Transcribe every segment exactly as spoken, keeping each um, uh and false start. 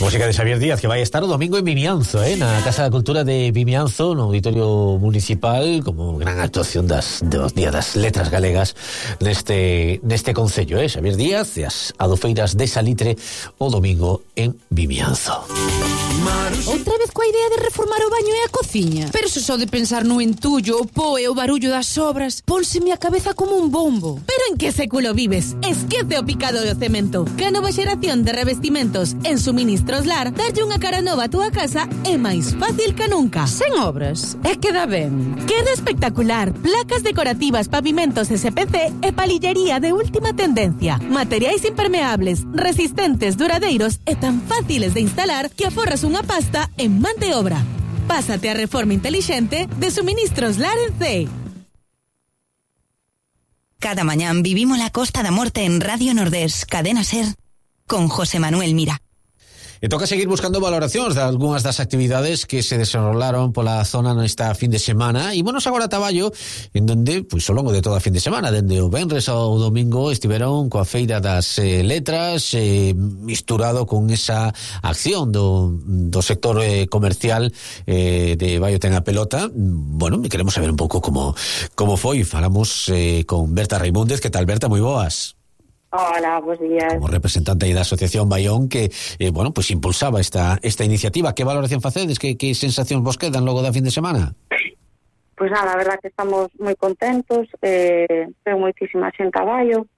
Música de Xavier Díaz, que vai estar o domingo en Vimianzo, eh, na Casa da Cultura de Vimianzo, no Auditorio Municipal, como gran actuación das, dos Día das Letras Galegas neste, neste concello, eh, Xavier Díaz e as adofeiras de Salitre o domingo en Vimianzo. Outra vez coa idea de reformar o baño e a cociña. Pero se só de pensar no entullo, o po e o barullo das obras, pónseme a cabeza como un bombo. Pero en que século vives? Esquece o picado do cemento. Que a nova xeración de revestimentos en Suministros Lar, darlle unha cara nova a túa casa é máis fácil que nunca. Sen obras, é que dá ben. Queda espectacular. Placas decorativas, pavimentos S P C e palillería de última tendencia. Materiais impermeables, resistentes, duradeiros e tan fáciles de instalar que aforras unha pasta en man de obra. Pásate a reforma intelixente de Suministros Lar en C. Cada mañán vivimos la Costa da Morte en Radio Nordés, Cadena Ser, con José Manuel Mira. E toca seguir buscando valoracións de algunhas das actividades que se desenrolaron pola zona nesta fin de semana. E bueno, agora a traballo en donde, pois, ao longo de toda a fin de semana, dende o venres ao domingo, estiveron coa Feira das eh, Letras, eh, misturado con esa acción do, do sector eh, comercial eh, de Baio ten a pelota. Bueno, queremos saber un pouco como, como foi. Falamos eh, con Berta Raimúndez. Que tal, Berta? Moi boas. Hola, buenos días. Como representante da Asociación Baión que, eh, bueno, pues impulsaba esta esta iniciativa. Que valoración facedes? Que, que sensacións vos quedan logo da fin de semana? Pues nada, a verdad que estamos moi contentos. Eh, ten moitísima xente a Baio.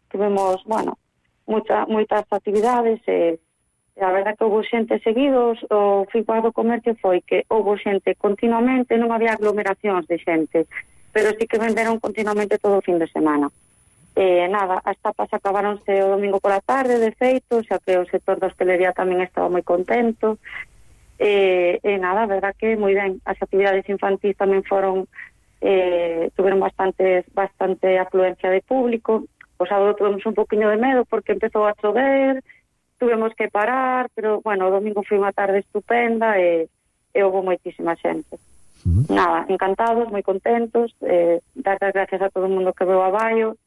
Tuvemos, bueno, mucha, moitas actividades. Eh, a verdad que houve xente seguidos. O feedback do comercio foi que houve xente continuamente, non había aglomeracións de xente, pero sí que venderon continuamente todo o fin de semana. Eh, nada, as tapas acabaronse o domingo pola tarde, de feito, xa que o sector da hostelería tamén estaba moi contento. E eh, eh, nada, a verdad que moi ben. As actividades infantís tamén foron, eh, tuveron bastante, bastante afluencia de público. O sábado tuvemos un poquinho de medo porque empezou a chover, tuvemos que parar, pero, bueno, o domingo foi unha tarde estupenda e, e houve moitísima xente. Uh-huh. Nada, encantados, moi contentos, eh, dar as gracias a todo o mundo que veu a Baio,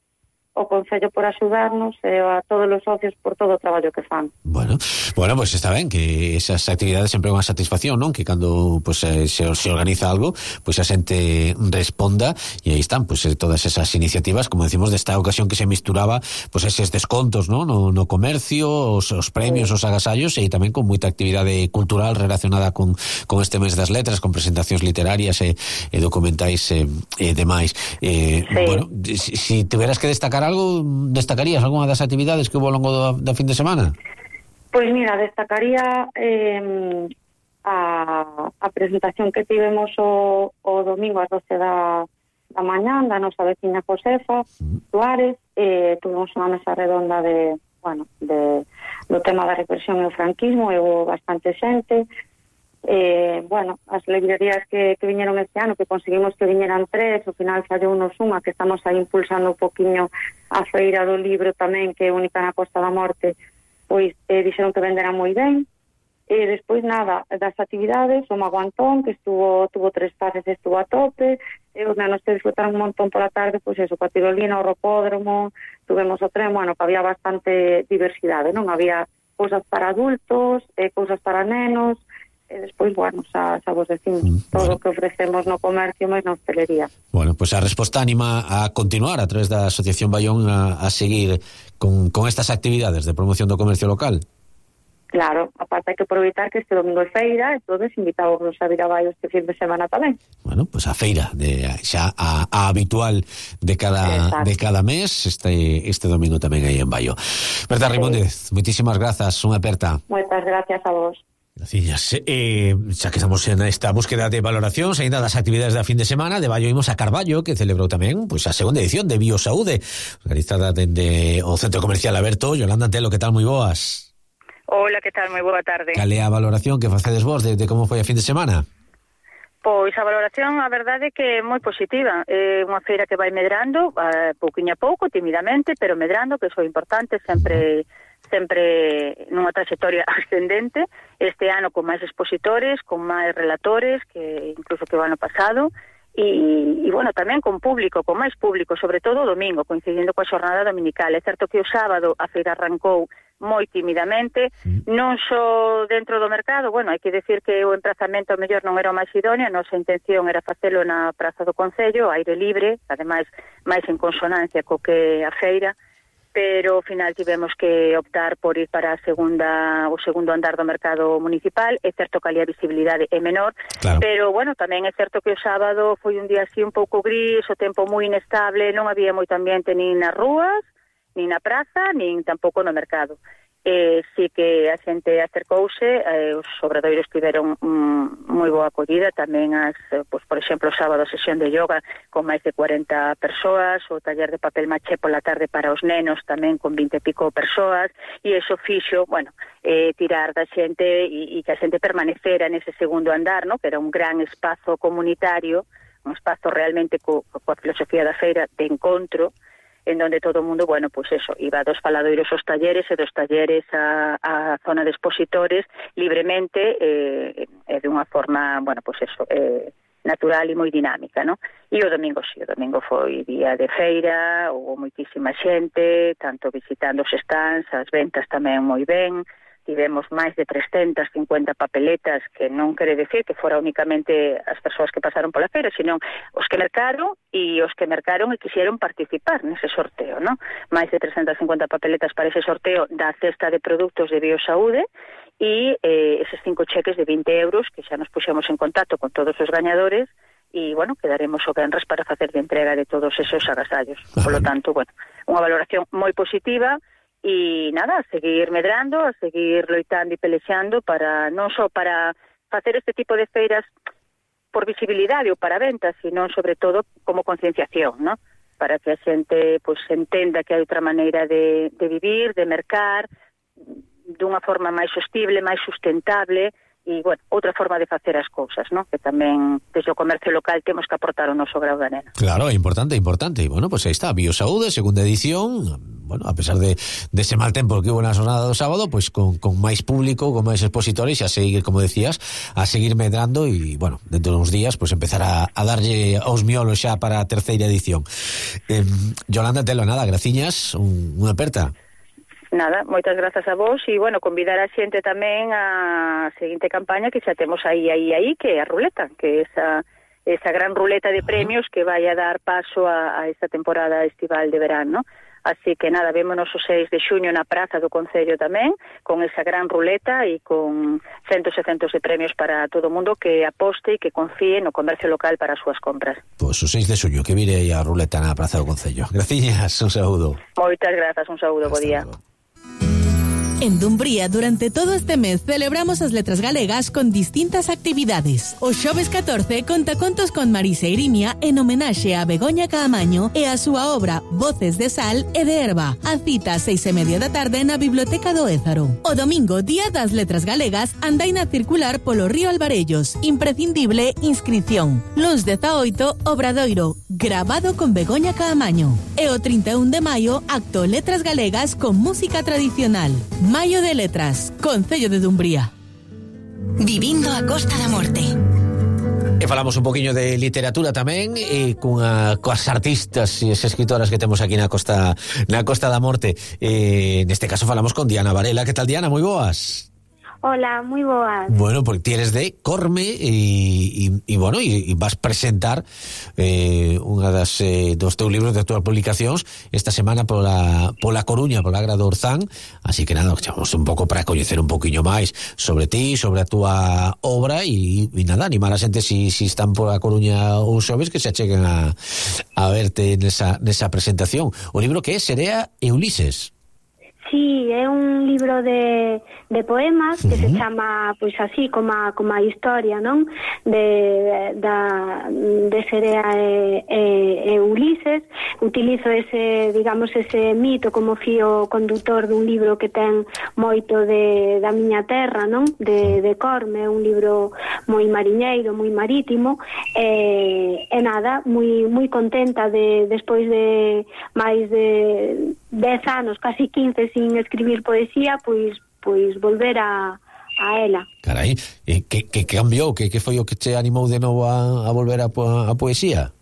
o Concello por axudarnos e a todos os socios por todo o traballo que fan. Bueno, bueno, pues está ben que esas actividades sempre é unha satisfacción, non? Que cando pues, eh, se, se organiza algo, pues a xente responda e aí están pues eh, todas esas iniciativas, como decimos, desta ocasión que se misturaba pues eses descontos, ¿no? No, no comercio, os, os premios, sí, os agasallos e tamén con moita actividade cultural relacionada con, con este mes das letras, con presentacións literarias e, e documentais e, e demais. Eh, sí. Bueno, si, si tuveras que destacar algo, destacarías algunha das actividades que hubo ao longo do, da fin de semana? Pois mira, destacaría eh, a, a presentación que tivemos o, o domingo ás doce da, da mañán da nosa veciña Josefa Suárez. Eh, tuvemos unha mesa redonda de, bueno, de, do tema da represión e o franquismo e houve bastante xente. Eh, bueno, as librerías que, que viñeron este ano, que conseguimos que viñeran tres, ao final fallou unos unha, que estamos aí impulsando un poquinho a feira do libro tamén, que é única na Costa da Morte, pois eh, dixeron que venderán moi ben. E despois nada, das actividades, o Mago Antón, que estuvo, tuvo tres pases, estuvo a tope, e os nenos que disfrutaron un montón pola tarde, pois eso, coa tirolina, o ropódromo, tuvemos o tren, bueno, que había bastante diversidade, non? Había cousas para adultos, eh, cousas para nenos, e despois, bueno, xa, xa vos decimos mm, todo o bueno. que ofrecemos no comercio máis na hostelería. Bueno, pois pues a resposta anima a continuar a través da Asociación Baión a, a seguir con, con estas actividades de promoción do comercio local. Claro, aparte hai que aproveitar que este domingo é feira, entonces invitamos a vir a Baio este fin de semana tamén. Bueno, pois pues a feira de xa a, a habitual de cada Exacto. de cada mes, este este domingo tamén aí en Baio. Berta Raimúndez, sí. Moitísimas grazas, unha aperta. Moitas gracias a vos. Gracias. Eh, xa que estamos en esta búsqueda de valoracións aínda das actividades da fin de semana, de Baio imos a Carballo, que celebrou tamén pois, a segunda edición de Biosaúde, organizada dende o Centro Comercial Aberto. Yolanda Antelo, que tal? Moi boas. Hola, que tal? Moi boa tarde. Cal é a valoración que facedes vos de, de como foi a fin de semana? Pois a valoración, a verdade é que é moi positiva. É unha feira que vai medrando, a pouquiño a pouco, timidamente, pero medrando, que iso é importante, sempre... sempre nunha trayectoria ascendente, este ano con máis expositores, con máis relatores que incluso que o ano pasado, e, e bueno, tamén con público, con máis público, sobre todo o domingo, coincidindo coa xornada dominical. É certo que o sábado a feira arrancou moi timidamente, non só dentro do mercado, bueno, hai que decir que o emprazamento ao mellor non era o máis idóneo, a nosa intención era facelo na Praza do Concello, aire libre, ademais máis en consonancia co que a feira, pero ao final tivemos que optar por ir para a segunda, o segundo andar do mercado municipal. É certo que ali a visibilidade é menor, claro. Pero, bueno, tamén é certo que o sábado foi un día así un pouco gris, o tempo moi inestable, non había moito ambiente nin nas rúas, nin na praza, nin tampouco no mercado. Eh, sí que a xente acercouse, eh, os obradoiros tiveron mm, moi boa acollida, tamén as, eh, pues, por exemplo, o sábado a sesión de yoga con máis de cuarenta persoas, o taller de papel maché pola tarde para os nenos tamén con vinte e pico persoas, e eso fixo, bueno, eh, tirar da xente e, e que a xente permanecera nese segundo andar, no? Que era un gran espazo comunitario, un espazo realmente co, coa filosofía da feira de encontro, en donde todo o mundo, bueno, pues eso, iba dos faladoiros aos talleres e dos talleres a, a zona de expositores libremente e eh, de unha forma, bueno, pues eso, eh, natural e moi dinámica, ¿no? E o domingo, sí, o domingo foi día de feira, houve moitísima xente, tanto visitando os stands, as ventas tamén moi ben, tivemos máis de trescentas cincuenta papeletas, que non quere decir que fora únicamente as persoas que pasaron pola feira, sino os que mercaron e os que mercaron e quixeron participar nese sorteo, ¿no? Máis de trescentas cincuenta papeletas para ese sorteo da cesta de produtos de Biosaúde e eh, eses cinco cheques de vinte euros que xa nos puxemos en contacto con todos os gañadores e, bueno, quedaremos o venres para facer de entrega de todos esos agasallos. Por lo tanto, bueno, unha valoración moi positiva. E nada, a seguir medrando, a seguir loitando e pelexando para non só para facer este tipo de feiras por visibilidade ou para ventas, sino sobre todo como concienciación, ¿no? Para que a xente pues entenda que hai outra maneira de, de vivir, de mercar, dunha forma máis sostible, máis sustentable, e, bueno, outra forma de facer as cousas, ¿no? Que tamén, desde o comercio local, temos que aportar o noso grau de nena. Claro, é importante, é importante. E, bueno, pues aí está, Biosaúde, segunda edición. Bueno, a pesar de, de ese mal tempo que hubo na jornada do sábado, pues con, con máis público, con máis expositores, e a seguir, como decías, a seguir medrando e, bueno, dentro de uns días, pues empezar a, a darlle aos miolos xa para a terceira edición. Eh, Yolanda Telo, nada, graciñas, un, unha aperta. Nada, moitas grazas a vos e, bueno, convidar a xente tamén a seguinte campaña que xa temos aí, aí, aí, que é a ruleta, que é esa, esa gran ruleta de premios que vai a dar paso a, a esta temporada estival de verán, ¿no? Así que nada, vémonos o seis de xuño na Praza do Concello tamén, con esa gran ruleta e con centos e centos de premios para todo o mundo que aposte e que confíe no comercio local para as súas compras. Pois o seis de xuño, que vire aí a ruleta na Praza do Concello. Graciñas, un saúdo. Moitas grazas, un saúdo, bo día. Luego. En Dumbría, durante todo este mes, celebramos as letras galegas con distintas actividades. O xoves catorce, conta contos con Marisa Irimia en homenaxe a Begoña Caamaño e a súa obra Voces de Sal e de Herba. A cita a seis e media da tarde na Biblioteca do Ézaro. O domingo, Día das Letras Galegas, andaina circular polo río Alvarellos. Imprescindible inscripción. Luns dezaoito, Obradoiro, grabado con Begoña Caamaño. E o trinta e un de maio, acto Letras Galegas con música tradicional. Maio de Letras, Concello de Dumbría. Vivindo a Costa da Morte. E falamos un poquinho de literatura tamén e cunha coas artistas e as escritoras que temos aquí na Costa na Costa da Morte. E neste caso falamos con Diana Varela. Que tal, Diana? Moi boas. Hola, moi boas. Bueno, porque ti eres de Corme e, e, e bueno, e, e vas presentar eh, unha das eh, dos teus libros de túas publicacións esta semana pola, pola Coruña, pola Agra do Orzán. Así que nada, chamamos un pouco para coñecer un poquinho máis sobre ti, sobre a túa obra e, e nada, animar a xente si, si están pola Coruña ou xoves que se acheguen a, a verte nesa, nesa presentación. O libro que é Serea e Ulises. Sí, é un libro de, de poemas que uh-huh. se chama, pois así, como a, como a historia, non? De, da, de Serea e, e, e Ulises. Utilizo ese, digamos, ese mito como fío condutor dun libro que ten moito de, da miña terra, non? De, de Corme, un libro moi mariñeiro, moi marítimo, e, e nada, moi, moi contenta de, despois de máis de dez anos, casi quince, sin escribir poesía, pois pois volver a, a ela. Carai, e que, que cambiou? Que, que foi o que te animou de novo a, a volver a, a poesía?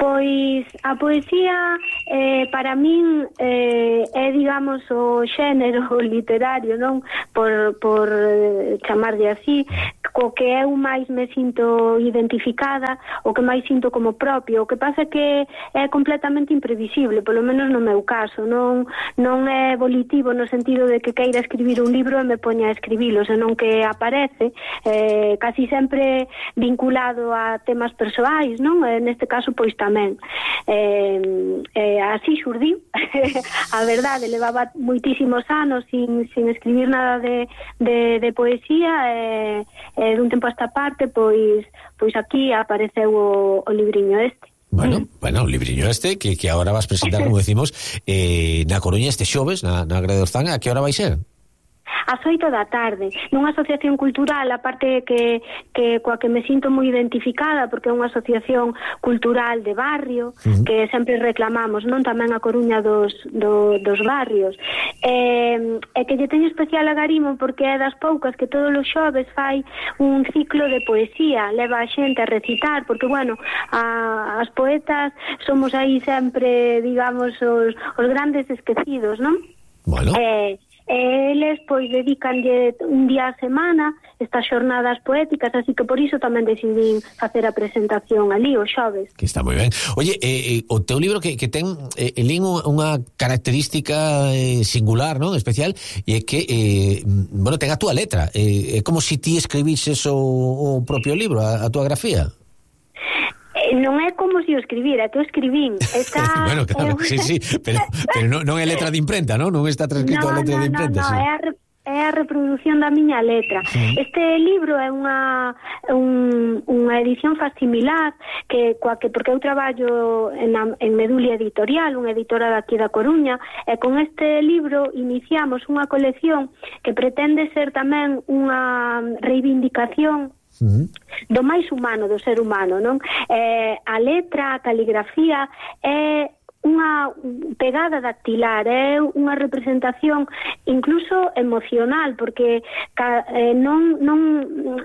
Pois a poesía eh, para min eh, é, digamos, o xénero literario, non? Por, por eh, chamarlle así, co que eu máis me sinto identificada, o que máis sinto como propio. O que pasa é que é completamente imprevisible, polo menos no meu caso. Non, non é volitivo no sentido de que queira escribir un libro e me poña a escribilo, senón que aparece eh, casi sempre vinculado a temas persoais, non? E neste caso, pois tamén. Eh, eh, así xurdiu. A verdade, levaba moitísimos anos sin, sin escribir nada de, de, de poesía e eh, dun tempo a esta parte pois pois aquí apareceu o, o libriño este. Bueno, bueno, o libriño este que, que agora vas presentar, como decimos, eh, na Coruña este xoves, na, na Grada de Orzán. A que hora vai ser? Ás oito da tarde, nunha asociación cultural, a parte que, que coa que me sinto moi identificada, porque é unha asociación cultural de barrio, uh-huh. que sempre reclamamos, non, tamén a Coruña dos, do, dos barrios, e, e que lle teño especial agarimo porque é das poucas que todos os xoves fai un ciclo de poesía, leva a xente a recitar, porque, bueno, a, as poetas somos aí sempre, digamos, os, os grandes esquecidos, non? Bueno. Eh, E eles, pois, dedicanlle un día a semana estas xornadas poéticas, así que por iso tamén decidín facer a presentación ali, os xoves. Que está moi ben. Oye, eh, eh, o teu libro que, que ten eh, lín unha característica eh, singular, non? Especial, e é que, eh, bueno, ten a túa letra. É eh, como se ti escribises o, o propio libro, a, a túa grafía. Non é como se o escribira, que o escribín. Está, bueno, claro, eh, sí, sí, pero, pero non, non é letra de imprenta, non? Non está transcrito no, a letra no, de imprenta, no, no, sí. é a, é a reproducción da miña letra. Sí. Este libro é unha un, unha edición facsimilar que coa que porque eu traballo en, en Medulia Editorial, unha editora daqui da Coruña, e con este libro iniciamos unha colección que pretende ser tamén unha reivindicación Uh-huh. do máis humano, do ser humano, non? Eh, a letra, a caligrafía é unha pegada dactilar, é unha representación incluso emocional, porque ca, eh, non, non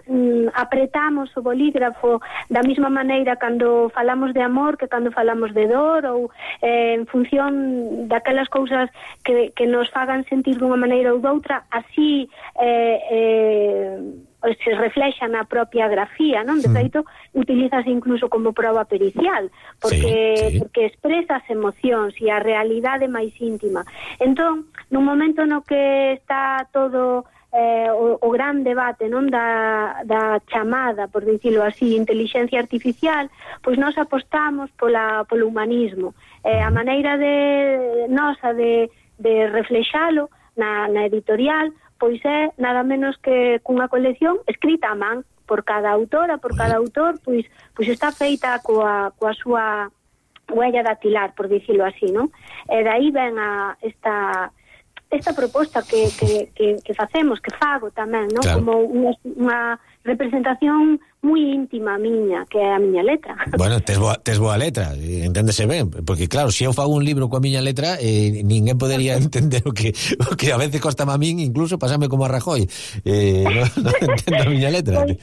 mm, apretamos o bolígrafo da mesma maneira cando falamos de amor que cando falamos de dor, ou eh, en función daquelas cousas que, que nos fagan sentir dunha maneira ou doutra, así eh, eh, se reflexa na propia grafía, non? De feito, utilizase incluso como prova pericial, porque, sí, sí. porque expresa as emocións e a realidade máis íntima. Entón, nun momento no que está todo eh, o, o gran debate, non, da, da chamada, por dicilo así, inteligencia artificial, pois nós apostamos pola, polo humanismo. Eh, a maneira de nosa de, de reflexalo na, na editorial, pois é nada menos que cunha colección escrita a man por cada autora, por cada autor, pois pois está feita coa, coa súa huella dactilar, por dicilo así, non? E dai ven a esta esta proposta que, que, que, que facemos, que fago tamén, non? Claro. Como unha, unha representación moi íntima miña, que é a miña letra. Bueno, tes boa, tes boa letra, enténdese ben, porque claro, se eu fago un libro coa miña letra, eh, ninguén podería entender o que, o que a veces costa a min, incluso pasame como a Rajoy, eh, non no entendo a miña letra. Pois,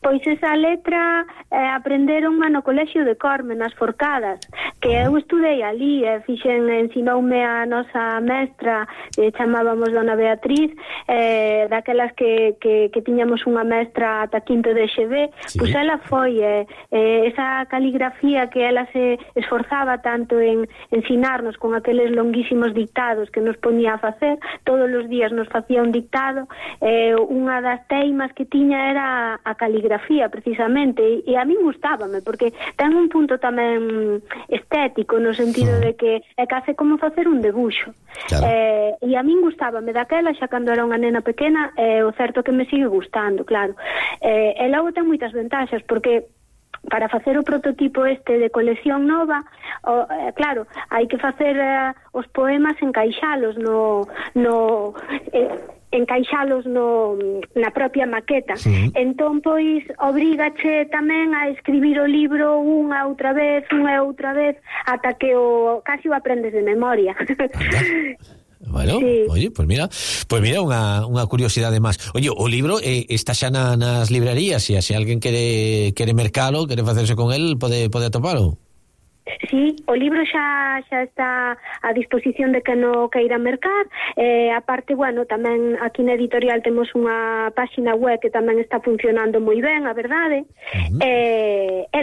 pois esa letra eh, aprenderon no colexio de Corme, nas Forcadas, que eu estudei ali, e fixen, ensinoume a nosa mestra, eh, chamábamos Dona Beatriz, eh, daquelas que, que, que tiñamos unha mestra ata quinto de X B, sí. Pois ela foi eh, eh, esa caligrafía que ela se esforzaba tanto en ensinarnos con aqueles longuísimos dictados que nos ponía a facer, todos os días nos facía un dictado, eh, unha das teimas que tiña era a caligrafía, precisamente, e, e a mí gustábame, porque ten un punto tamén estético, no sentido de que é case como facer un debuxo. Claro. Eh, e a min gustábame daquela, xa cando era unha nena pequena, eh, o certo que me sigue gustando, claro. Eh, e logo ten moitas ventaxas, porque para facer o prototipo este de colección nova, o, eh, claro, hai que facer eh, os poemas, encaixalos no... no eh, encaixalos no, na propia maqueta. Sí. Entón, pois, obrígache tamén a escribir o libro unha outra vez, unha outra vez, ata que o casi o aprendes de memoria. Bueno, sí. Oye, pues mira, pues mira unha, unha curiosidade máis. Oye, o libro eh, está xa na, nas librerías, e se alguén quere quere mercalo, quere facerse con el, pode pode atopalo. Sí, o libro xa xa está a disposición de que no queira mercar. Eh, aparte, bueno, tamén aquí na editorial temos unha páxina web que tamén está funcionando moi ben, a verdade. Uh-huh. Eh, e